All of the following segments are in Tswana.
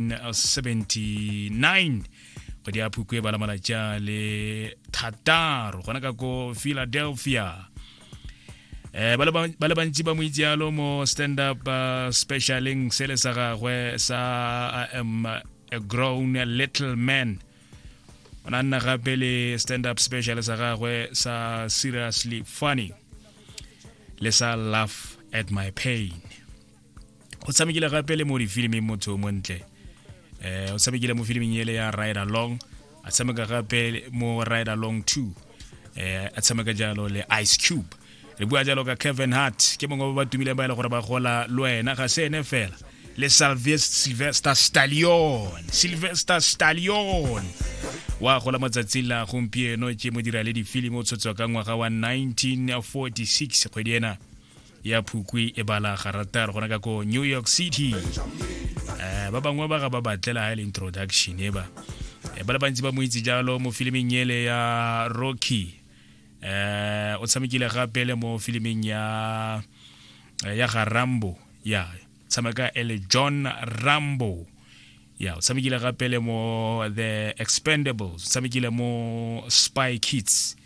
1979 kgwedi ya phukwe e bala malatsi a le thataro gona ka ko Philadelphia. Ba le bantsi ba mo itse yalo mo stand up specialing sele sa gagwe sa I Am a Grown Little Man. O ne a nna gape le stand up special sa gagwe sa Seriously Funny le sa Laugh at My Pain. O tshamekile gape le mo difiliming, motho o montle. O tshamekile mo filiming ele ya Ride Along, a tshameka gape mo Ride Along 2, a tshameka jalo le Ice Cube. Re bua jalo ka Kevin Hart, ke mongwe ba ba tumileng ba e le gore ba gola le wena. Ga se ene fela, le Sylvester Stallone. Sylvester Stallone wa gola matsatsi la gompieno, ke modira le difilimi, o tshotswa ka ngwaga wa 1946, kgwedi ena ya Phukwi e bala garataro, gona ka ko New York City. Ba bangwe ba ga ba batlela ha e le introduction e ba. Ba le bantsi ba mo itse jalo mo filiming ele ya Rocky. O tshamekile gape le mo filiming ya ga Rambo, ya tshameka e le John Rambo. Ya, o tshamekile gape le mo The Expendables, o tshamekile mo Spy Kids.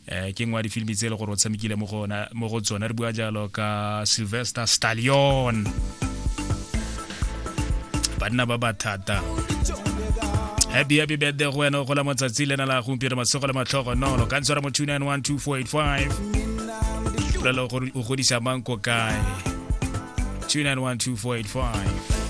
Ke nngwe ya difilimi tse e le gore o tshamekile mo go ona- mo go tsona. Re bua jalo ka Sylvester Stallone, banna ba ba thata. Happy, happy birthday go wena o gola matsatsi lena la gompieno, masego le matlhogonolo. Ka ntshwara mo 2912485, bolelo gore o godisa mang ko kae. 2912485.